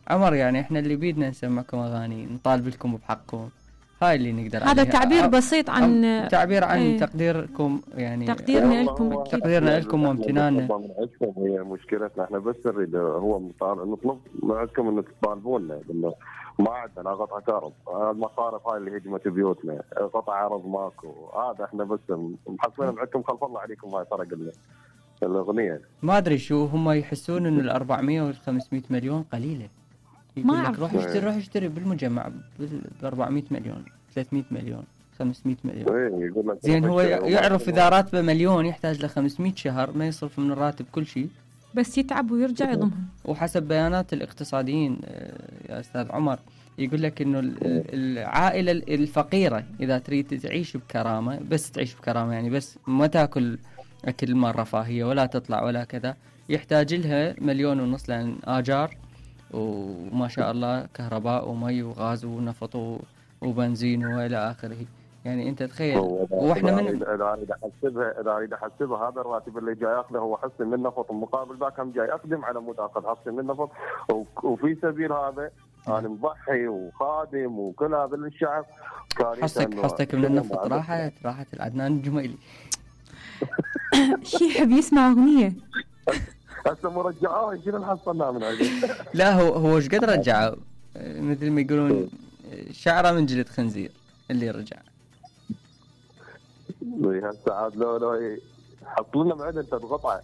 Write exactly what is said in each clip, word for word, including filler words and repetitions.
عمر يعني احنا اللي بيدنا نسمعكم اغاني نطالب لكم بحقكم، هاي اللي نقدر عليها. هذا تعبير بسيط عن تعبير عن ايه تقديركم يعني، تقديرنا لكم اكيد، تقديرنا لكم وامتناننا. هي مشكلتنا احنا بس نريد هو نطلب منكم انه تطالبونا انه ما عندنا قطع كهرب، المصارف هاي اللي هجمت بيوتنا، قطع ارض ماكو، هذا احنا بس محصلين معكم خلف الله عليكم هاي فرق الاغنيه. ما ادري شو هم يحسون انه الأربعمية والخمسمية مليون قليله، يقول لك روح اشتري روح اشتري بالمجمع ب أربعمية مليون ثلاثمية مليون خمسمية مليون. زين هو يعرف اذا راتبه مليون يحتاج له خمسمية شهر ما يصرف من الراتب كل شيء، بس يتعب ويرجع يضمهم. وحسب بيانات الاقتصاديين يا استاذ عمر يقول لك انه العائله الفقيره اذا تريد تعيش بكرامه، بس تعيش بكرامه يعني بس ما تاكل اكل مال رفاهيه ولا تطلع ولا كذا، يحتاج لها مليون ونص، لان اجار وما شاء الله كهرباء ومي وغاز ونفط وبنزين والى اخره. يعني انت تخيل واحنا من اذا اريد احسبها اذا اريد احسبها هذا الراتب اللي جاي اخذه هو حصه من نفط، مقابل ذاك هم جاي اقدم على مود اخذ حصه من نفط، وفي سبيل هذا انا مضحي وخادم وكل هذا للشعب. حصتك حصتك من النفط راحت راحت العدنان الجميلي. شي يحب يسمع اغنيه هسه مرجعوه شنو نحصلنا من عندي. لا هو هو ايش قد رجعوا، مثل ما يقولون شعره من جلد خنزير اللي رجع. هسه عاد لو لو حط لنا معده انت تقطع.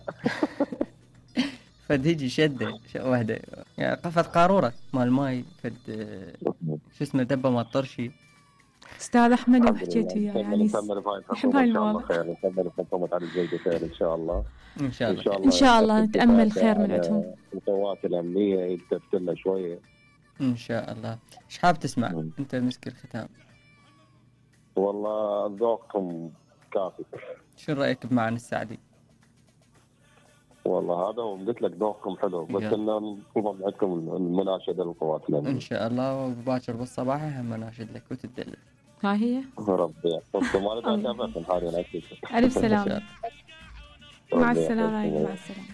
فد هيجي شده وحده يعني قفت قاروره مال ماي فد شو اسمه دبه ما طرشي. استاذ احمد وحكيت وياه يعني نحب هاي المواضيع، نكمل الحكومه على الجيد خير ان شاء الله. ان شاء الله ان شاء الله نتامل خير من عندهم. القوات الامنيه يلتفت لنا شويه ان شاء الله. ايش حاب تسمع م. انت مسك الختام؟ والله ذوقكم كافي. شو رايك بمعن السعدي؟ والله هذا وقلت لك ذوقكم حلو، بس انه نطلب عندكم المناشده للقوات الامنيه ان شاء الله، وباكر بالصباح هم مناشد لك وتدلل. ها هي ربي يحفظكم. انا تعرف حالي انا الف سلامه. مع السلامه. مع السلامه.